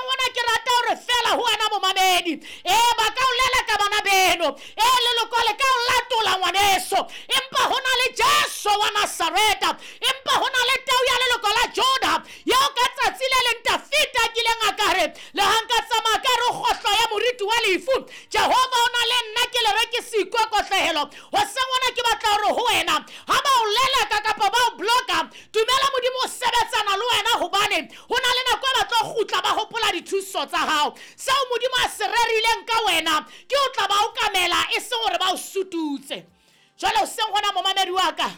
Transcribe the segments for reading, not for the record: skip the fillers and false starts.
Hoseng hona ke rata hore feela ho wena momamedi, ee, ba ka o leleka bana beno, ee, leloko le ka o latola ngwaneso, empa ho na le Jesu wa Nasareta, empa ho na le tau ya leloko la Juda, yeo ka tsatsi le leng Dafita a kileng a ka re, le ha nka tsamaya ka re kgohlo ya moriti wa lefu, Jehova o na le nna, ke le re ke se ikokotlehelo. Hoseng hona ke batla hore ho wena, ha ba o leleka kapa ba o bloka, dumela Modimo o sebetsana le wena, hobane ho na le nako e ba tlo kgutla ba hopola dithuso tsa hao. Seo Modimo a se rerileng ka wena ke o tla ba o kamela, e seng hore ba o sututse. Jwale hoseng hona momamedi wa ka,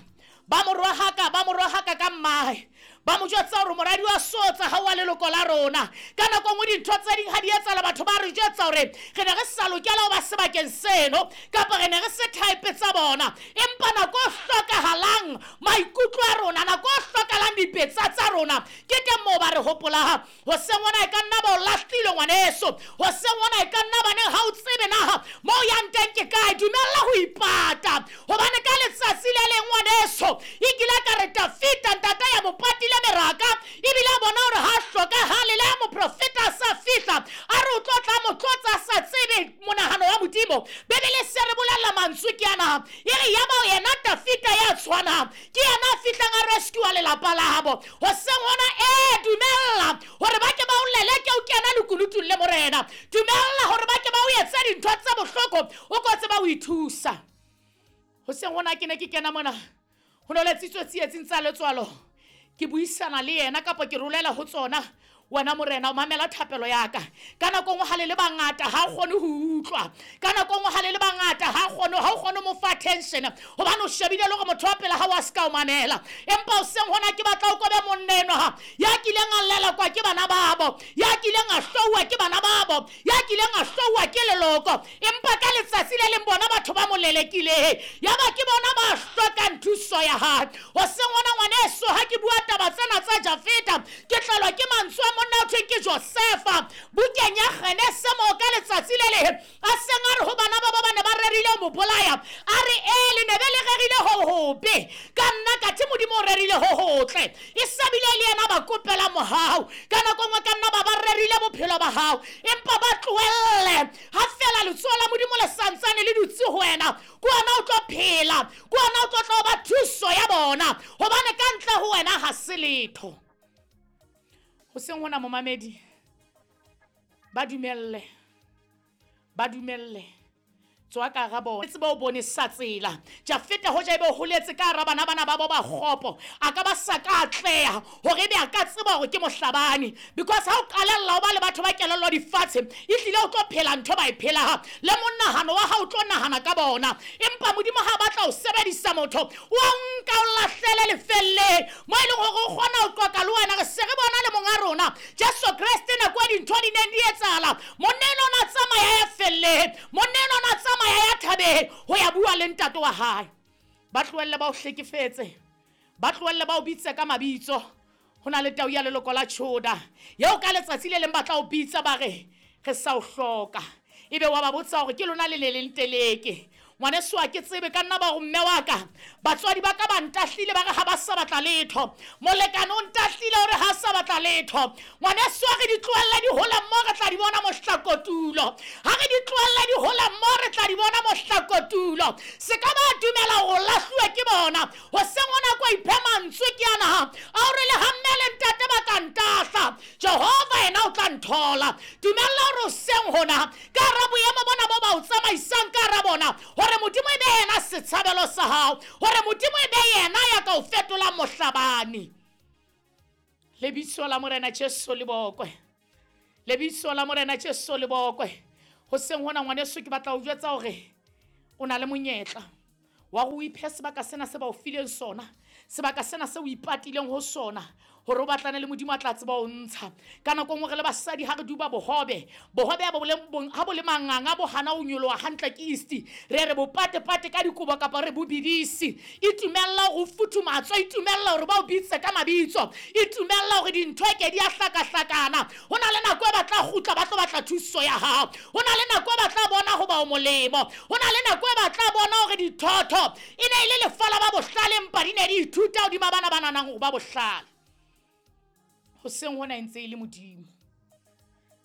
ba mo rohaka, ba mo rohaka ka mmae, ba mo jwetsa hore moradi wa sotsa ha wa leloko la rona. Ka nako nngwe dintho tse ding ha di etsahala, batho ba re jwetsa hore re ne re sa lokela ho ba sebakeng seno, kapa re ne re se type tsa bona. Empa nako e hlokahalang maikutlo a rona, nako e hlokahalang dipetsa tsa rona, ke teng moo ba re hopolang. Hoseng hona e ka nna ba o lahlile ngwaneso, hoseng hona e ka nna ba neng ha o tsebe naha moo yang teng ke kae. Dumella ho ipata, hobane ka letsatsi le leng ngwaneso e kile ka re Dafita ntata ya mo patile meraka, ebile a bona hore ha hlokahale le ha moprofeta a sa fihla, a re o tlo tla mo tlotsa a sa tsebe monahano wa Modimo. Bibele se re bolella mantswe ke ana, e re yaba yena Dafita ya tshwanang ke yena a fihlang a rescue lelapa labo. Hoseng hona, ee, dumella hore ba ke ba o leleke o kena lekunutung le Morena. Dumella hore ba ke ba o etse dintho tse bohloko, o ko tseba o ithusa. Hoseng hona ke ne ke kena mona, ho no letsitswe tsietsing tsa letswalo, ke buisana le yena kapa ke rolela ho tsona. Wena Morena o mamela thapelo ya ka. Ka nako nngwe ha le le bangata ha o kgone ho utlwa, ka nako nngwe ha le le bangata ha kgone, ha o kgone mo fa attention, hobane o shebile le hore motho wa pele ha wa se ka o mamela. Empa hoseng hona ke batla o kobe monna enwa ya kileng a lelekwa ke bana babo, ya kileng a hlouwa ke bana babo, ya kileng a hlouwa ke leloko, empa ka letsatsi le leng bona batho ba mo lelekile, yaba ke bona ba hlokang thuso ya hae. Hoseng hona ngwaneso, ha ke bua taba tsena tsa Jafeta, ke tlelwa ke mantswe a monna o thweng ke Josefa bukeng ya Genese, moo ka letsatsi le leng a seng a re ho bana ba ba ne ba rerile ho mo bolaya, a re ee, le ne be le rerile ho hobe ka nna, kathe Modimo o rerile ho hotle. E sabile le yena ba kopela mohau. Ka nako nngwe ka nna ba ba rerile bophelo ba hao, empa ba tlohelle ha fela letsoho la Modimo le santsane le dutse ho wena, ke wena o tlo phela, ke wena o tlo tla ba thuso ya bona, hobane ka ntle ho wena ha se letho. Hoseng hona momamedi, ba dumelle, ba dumelle, tswa ka hara bona, tseba o bone sa tsela. Jafeta hoja ebe o holetse ka hara bana bana ba bo ba kgopo, a ka ba sa ka atleha hore ebe a ka tseba hore ke mohlabani, because ha o qalella o ba le batho ba kelello difatshe, e hlile o tlo phela ntho ba e phelang, le monahano wa hao o tlo nahana ka bona. Empa Modimo ha batla ho sebedisa motho, o a nka o lahlele lefelleng mo e leng hore o kgona ho qoqa le wena. Re se re bona le monga rona Jesu Kreste, nako e dintho di neng di etsahala, monna enwa o na tsamaya ya felleng, monna enwa o na tsamaya ya thabeng ho ya bua le ntate wa hae. Ba tlohelle ba o hlekefetse, ba tlohelle ba o bitse ka mabitso. Ho na le tau ya leloko la Juda yeo ka letsatsi le leng ba tla o bitsa ba re re sa o hloka, ebe wa ba botsa hore ke lona le le leng teleke. Ngwaneso ha ke tsebe, ka nna ba ho mme wa ka, batswadi ba ka ba ntahlile, ba re ha ba sa batla letho, molekane o ntahlile hore ha sa batla letho. Ngwaneso ha re di tlohelle di hola mmo, re tla di bona mohlakotulo. Ha re di tlohelle di hola mmo, re tla di bona mohlakotulo. Se ka ba dumela hore o lahluwe ke bona. Hoseng hona ko iphe mantswe ke ana a hore le ha mme le ntate ba ka ntahla, Jehova yena o tla nthola. Dumella hore hoseng hona ka hara boemo bona bo ba o tsamaisang ka hara bona, hore Modimo e be yena setshabelo sa hao, hore Modimo e be yena ya ka o fetolang mohlabani. Lebitso la Morena Jesu le bokwe, lebitso la Morena Jesu le bokwe. Hoseng hona ngwaneso, ke batla ho jwetsa hore o na le monyetla wa go iphe sebaka sena se ba o fileng sona, sebaka sena se o ipatileng ho sona, hore o batlane le Modimo a tla tseba o ntsha. Ka nako nngwe re le basadi ha re duba bohobe, bohobe ha bo le manganga, bo hana ho nyoloha hantle ke yeast, re re bo pate-pate ka dikobo kapa re bo bidisi. Itumella hore o futhumatswe, itumella hore ba o bitse ka mabitso, itumella hore dintho e ke di a hlakahlakana. Ho na le nako e ba tla kgutla ba tlo batla thuso ya hao, ho na le nako e ba tla bona hoba o molemo, ho na le nako e ba tla bona hore dithotho e ne e le lefa la ba bohlale, empa di ne di ithuta hodima bana ba nanang hore ba bohlale. Hoseng hona e ntse e le Modimo.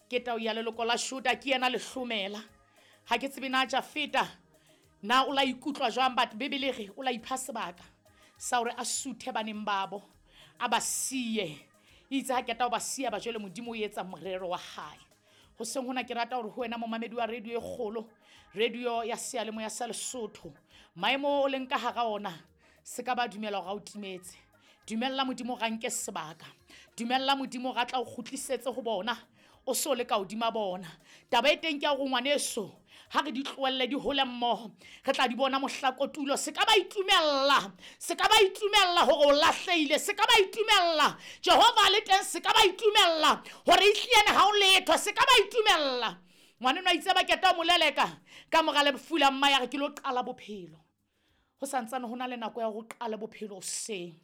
Ke tau ya leloko la Juda, ke yena lehlomela. Ha ke tsebe na Jafeta na o la ikutlwa jwang, but Bibele re o la ipha sebaka sa hore a suthe baneng babo, a ba siye. Itse ha keta o ba siya ba jwale Modimo o etsa morero wa hae. Hoseng hona ke rata hore ho wena momamedi wa radio e kgolo, radio ya seyalemoya sa Lesotho, maemo o leng ka hara ona se ka ba dumela hore a o timetse. Dumella Modimo ga nke sebaka, dumella Modimo ga tla o kgutlisetse ho bona, o so le ka hodima bona. Taba e teng ke ya hore ngwaneso, ha re di tlohelle di hole mmoho, re tla di bona mohla kotulo. Se ka ba itumella, se ka ba itumella hore o lahlehile, se ka ba itumella Jehova le teng, se ka ba itumella hore ehliyene ha o letho, se ka ba itumella. Ngwaneno a itse ba keta o moleleka ka mora lefu la mma, ya re ke lo qala bophelo. Ho santsane ho na le nako ya ho qala bophelo hoseng.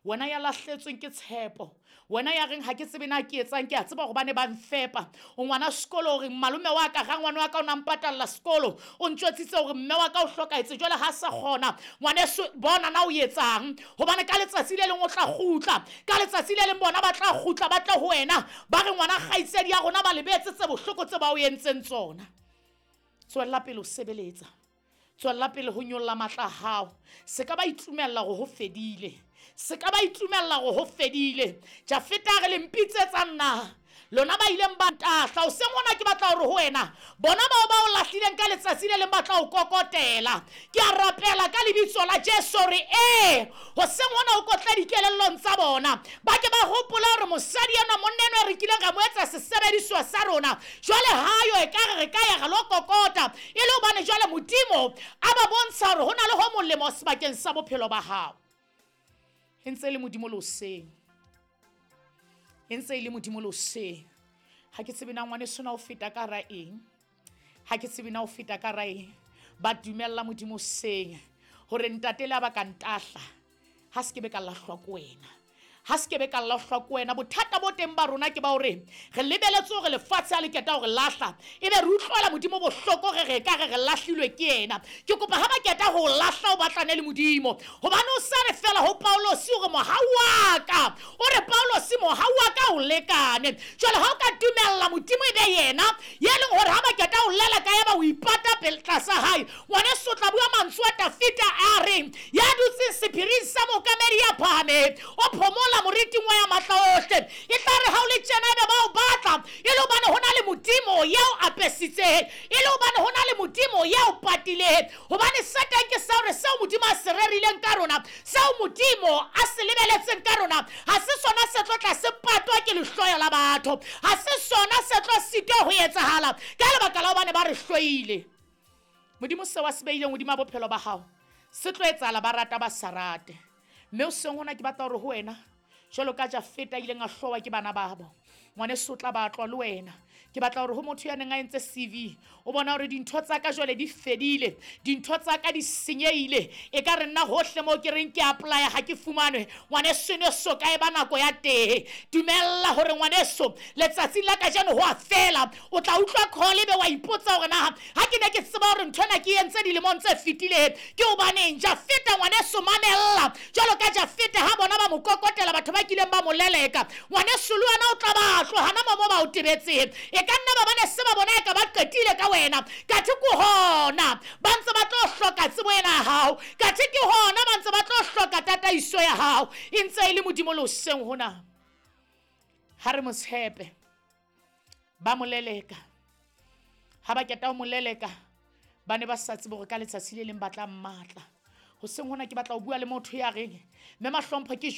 Wena ya lahletsweng ke tshepo, wena ya reng ha ke tsebe na ke etsang, ke a tseba hore ba ne ba mfepa. O ngwana sekolo, o reng malome wa ka, rangwane wa ka o na mpatalla sekolo, o ntjwetsitse hore mme wa ka o hlokahetse, jwale ha sa kgona. Ngwaneso, bona na o etsang, hobane ka letsatsi le leng o tla kgutla, ka letsatsi le leng bona ba tla kgutla, ba tle ho wena, ba re ngwana kgaitsedi ya rona ba lebetse tse bohloko tse ba o entseng tsona. Tswella pele ho sebeletsa, tswella pele ho nyolla matla a hao. Se ka ba itumella hore ho fedile, se ka ba itumella hore ho fedile. Jafeta a re le mpitsetsa nna, lona ba ileng ba ntahla. Hoseng hona ke batla hore ho wena, bona bao ba o lahlileng ka letsatsi le leng ba tla o kokotela. Ke a rapela ka lebitso la Jesu hore ee, hoseng hona o kotle dikelellong tsa bona, ba ke ba hopola hore mosadi enwa, monna enwa re kileng ra mo etsa sesebediswa sa rona, jwale hayo e ka re re ka ya ra lo kokota, e le hobane jwale Modimo a ba bontsha hore ho na le ho molemo sebakeng sa bophelo ba hao. E ntse e le Modimo le hoseng, e ntse e le Modimo le hoseng. Ha ke tsebe na ngwaneso na o feta ka hara eng, ha ke tsebe na o feta ka hara eng. Ba dumella Modimo hoseng hore ntate le a ba ka ntahla, ha se ke be ka lahlwa ke wena, ha se ke be ka lahlwa ke wena. Bothata bo teng ba rona ke ba hore re lebeletse hore lefatshe ha le keta hore lahla, ebe re utlwela Modimo bohloko, re re ka re re lahlilwe ke yena. Ke kopa ha ba keta ho lahla o batlane le Modimo, hobane o sa re fela ho Paulosi hore mohau wa ka, o re Paulosi mohau wa ka o lekane. Jwale ha o ka dumella Modimo e be yena ye leng hore ha ba keta ho leleka ya ba o ipata pele tlasa hae, ngwaneso o tla bua mantswe a Dafita a reng, ya dutseng sephiring sa mookamedi ya phahameng, o phomola moriting wa ya matla ohle. E tla re ha o le tjena ebe ba o batla, e le hobane ho na le Modimo ya o apesitseng, e le hobane ho na le Modimo ya o patileng. Hobane se teng ke sa hore seo Modimo a se rerileng ka rona, seo Modimo a se lebeletseng ka rona, ha se sona se tlo tla se patwa ke lehloyo la batho, ha se sona se tlo sitwa ho etsahala ka lebaka la hobane ba re hloile. Modimo seo a se beileng hodima bophelo ba hao se tlo etsahala, ba rata ba sa rate. Mme hoseng hona ke batla hore ho wena, jwalo ka Jafeta ileng a hlowa ke bana babo, ngwaneso o tla batlwa le wena. Ke batla hore ho motho ya neng a entse CV, o bona hore dintho tsa ka jwale di fedile, dintho tsa ka di senyehile, e ka re nna hohle moo ke reng ke apply-a ha ke fumanwe. Ngwaneso ene so ka e ba nako ya teng. Dumella hore ngwaneso letsatsing la kajeno ho a fela, o tla utlwa call ebe wa ipotsa hore na ha ke ne ke tseba hore ntho ena ke entse dilemong tse fetileng ke hobaneng. Jafeta ngwaneso mamella, jwalo ka Jafeta ha bona ba mo kokotela batho ba kileng ba mo leleka, ngwaneso le wena o tla ba tloha hana mo ba o tebetseng. E ka nna ba bane se ba bona e ka ba qetile ka wena, kathe ke hona ba ntse ba tlo hloka tsebo ena ya hao, kathe ke hona ba ntse ba tlo hloka tataiso ya hao. E ntse e le Modimo le hoseng hona, ha re mo tshepe. Ba mo leleka, ha ba keta ho mo leleka ba ne ba sa tsebe hore ka letsatsi le leng ba tla mmatla. Hoseng hona ke batla ho bua le motho ya reng, mme mahlompho ke